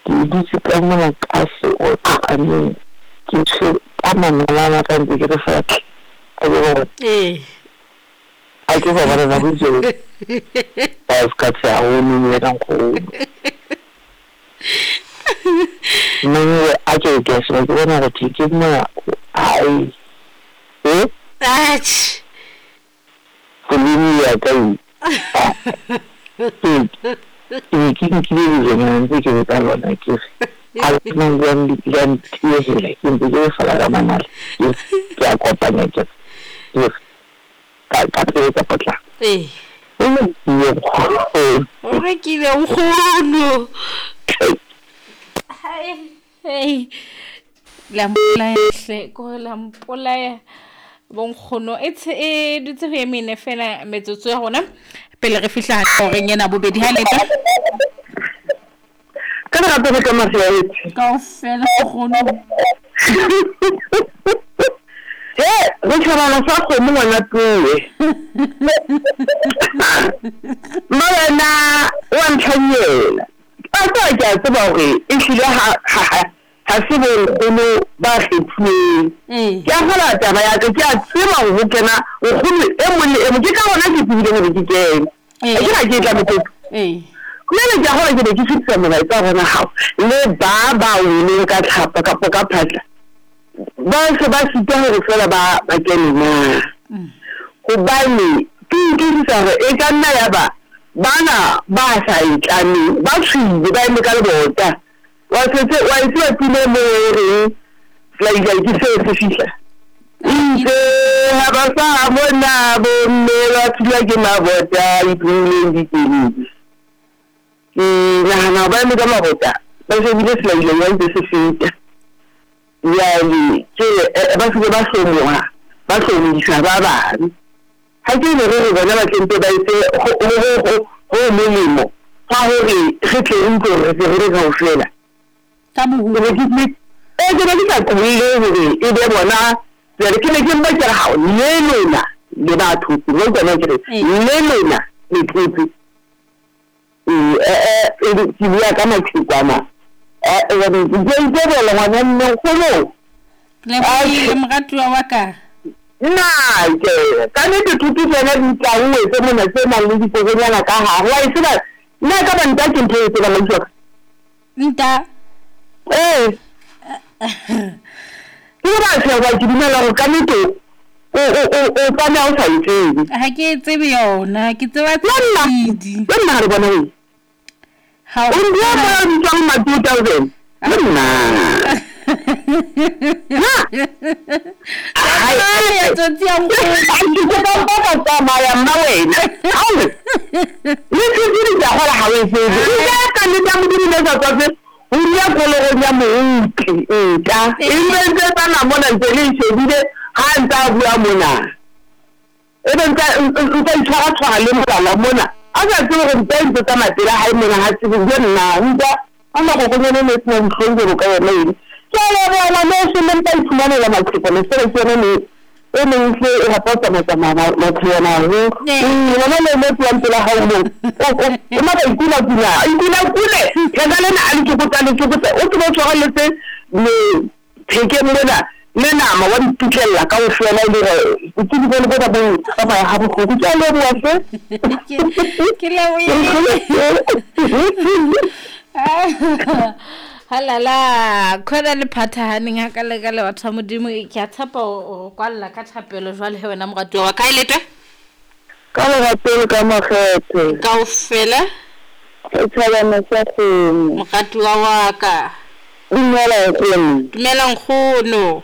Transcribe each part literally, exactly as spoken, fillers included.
Ke dutse ka mona ka seotlo, I mean ke tshwere ka manala a ka ntse ke re fela a ke bona. Ee. A ke ba bona nako tseo. Ba ska tsa o nne ka nkgono. Mongwe a ke ke se ke bona go ke mona ai. Eh? Atjhe. Koloi ya ka e. Ke ke nkile dijonyana ntse ke ka lona ke re a nang le le ntiehela ke ntse ke fela ka manala ke ke a kopanya ke ke ka ka pele ka potlako. Ee. O rekile nkgono. O rekile nkgono. Hai, hei. La mpolaya hle, ko la mpolaya bonkgono. E tshe e dutse ho e mene fela metsotso ya rona pele re fihla horeng ena bobedi ha leta. Ka lerato le ka mahlo. Kaofela nkgono. He, re tjhabana sa kgomo ngwana tuwe. Mma wena wa ntlhanyela. A tseba ke a tseba hore ehlile ha ha ha se bo nkgono ba kgethuweng. Ee. Ke a kgola taba ya ka, ke a tseba hore ho kena nkgono e mong le e mong. Ke ka hona ke tsebile hore ke kene. Ee. Ha ke na ke tla motho. Ee. Jwale ke a kgola ke be ke fetisa molaetsa hore hao le ba ba weleng ka tlhapa kapa ka phatla ba se ba sitwa hore feela ba ba kene na. Hobane ke utlwisisa hore e ka nna ya ba bana ba sa e tlameng ba tshwile ba eme ka lebota. Wa setse wa e tseba pina e moo e reng selailai ke seo se fihla. Itse ha ba sa bona bomme ba thulwa ke mabota a iphumileng dikeledi. Ke nahana ba eme ka mabota ba shebile selailai ba ntse se feta. Jwale ke ba se ke ba hlomoha ba hlomodisa ba bang. Ha ke ne re re bona ba tle mpe ba etse ho ho ho ho molemo ha hore re tle re utlwe hore re se re le kaofela. Ka Ke boholo. ne ke eh ke ne ke sa qolle hore e be bona jwale ke ne ke mpa ke re hao le lona le batho le tsona ke re Ee. le lona le tlotse. Eh eh ke bua ka maqhekwana. Eh eh ke itebela ngwana mme nkgono. Lebohile moratuwa wa ka. Nna ke ka nnete thuto tsena di tlauwe tse mona tse nang le dikokonyana ka hare. Wa e tseba nna e ka ba nta ke ntho e tsebang ausi wa ka. Nta. Ee. Ke le batho ba ke dumela hore ka nnete o o o o tlameha o sa e tsebe. Ha ke e tsebe yona, ke tseba Le nna tshidi. le nna ha re bona eng. Ha O ndia mo a bitswang ma two thousand. Le nna. Na. Tsamaya tsotsi ya nkgono. Ke kopa mpa ka tsamaya mma wena. Hawe. Le tsebile ke a kgola ha o e tsebe. Nka ka nnete ya Modimo ne sa tswafe ho dula kologong ya mooki nka. E ntse ntse tsamaya mona ntse le e shebile ha ntse a bua mona. E be ntse ntse itshwara tshwara le molala mona. A sa tsebe hore nta e ntse tsamaya pela hae mona ha tsebe le nna nka a makokonyane ne sena dihlong jwalo ka yona eno. Ke a leboha ngwaneso le mpa iphumanela maqhekwana feela ke yona ne e neng hle e rata ho tsamaya-tsamaya maqhekwana haholo. Ee. Ngwana le mo tlohang pela hao moo. O o o matla ikula kula, ikula kule. Theka lena a le tsokotsa le tsokotsa. O tsebe o tshwarelletse le thekeng mona le nama wa di pitlella kaofela e le hore botsebi bone bona bo tsamaya ha bohloko. Ke a leboha hle. Ke ke lebohile. Halala, khona le phathahaneng ha ka le ka le batho ba Modimo ke a tshepa o kwalla ka thapelo jwale he wena moratuwa wa ka e letwe. Ka lerato le ka makgethe. Kaofela. Setjhabana sa kgomo. Moratuwa wa ka. Dumela nkgono. Dumela nkgono.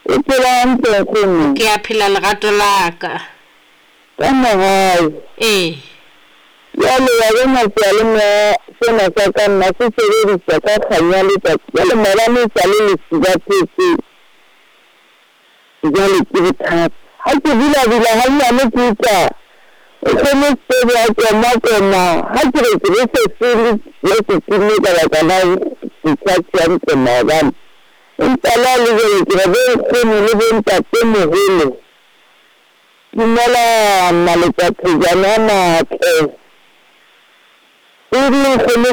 O phela hantle nkgono? Ke a phela lerato la ka. Ka mohau. Ee. Jwale wa bona seyalemoya sena sa ka nna se sebediswa ka kganya letsatsi. Jwale maobane e sale lesiba phetse. Jwale ke bothata. Ha ke bula bula hanyane ke utlwa nkgono Sebe a koma koma. Ha ke re ke be se se le se timme ka baka la se tjhatsi hantle maobane. Empa le ha le jwale ke re bo nkgono le bo ntatemoholo. Dumela maletsatsi a matle. E le nkgono